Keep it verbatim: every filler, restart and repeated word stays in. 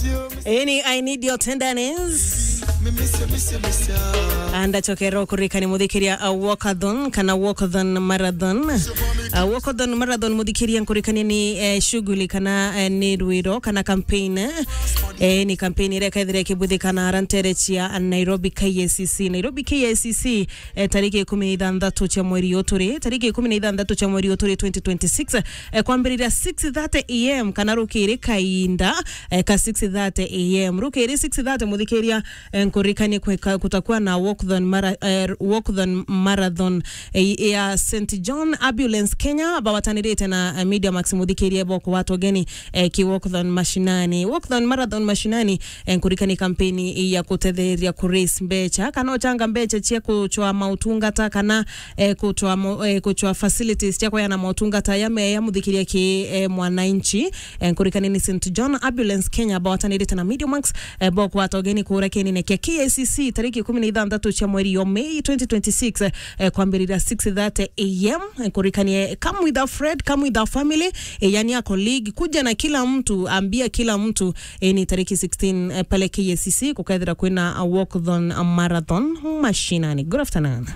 Eni, I need your tenderness. Andachokero kurikani muthikiria a walkathon kana walkathon marathon. A walkathon marathon muthikiria nkurikani ni eh, shughuli kana eh, ni rwiro kana campaign. Eh, ni campaign iria kethire kibuthikana arantere chia Nairobi K I C C. Nairobi K I C C eh, tariki ikumi na ithanthatu cia mweri uturi, tariki ikumi na ithanthatu cia mweri uturi twenty twenty-six, eh, kwambiriria six thirty A M kana rukiri kainda eh, ka six thirty A M. Rukiri six thirty, muthikiria, eh, nkurikanie kweka kutakuwa na walkathon mara, eh, walkathon marathon eh, ya Saint John Ambulance Kenya bawatanirite na eh, Media Max, muthikirie boko watogeni eh, ki walkathon mashinani. Walkathon marathon mashinani eh, nkurikani kampeni ya kutetheria ku raise mbecha kana uchanga mbecha cia kuchwa mautungata kana eh, kuchwa mo, eh, kuchwa facilities cia kuyana mautungata ya meya muthikiria ki eh, mwananchi. Eh, nkurikani ni Saint John Ambulance Kenya bawatanirite na Media Max eh, bo kwata ugeni kura kienine kia K I C C tariki ikumi na ithanthatu cia mweri yo Mei twenty twenty-six eh, kwambirira six thirty A M. Eh, nkurikanie, come with a friend, come with a family, eh, yani a colleague, kuja na kila mtu, ambia kila mtu eh, ni tariki sixteen eh, pale K I C C kukethira kwina a walkathon a marathon mashinani. Good afternoon.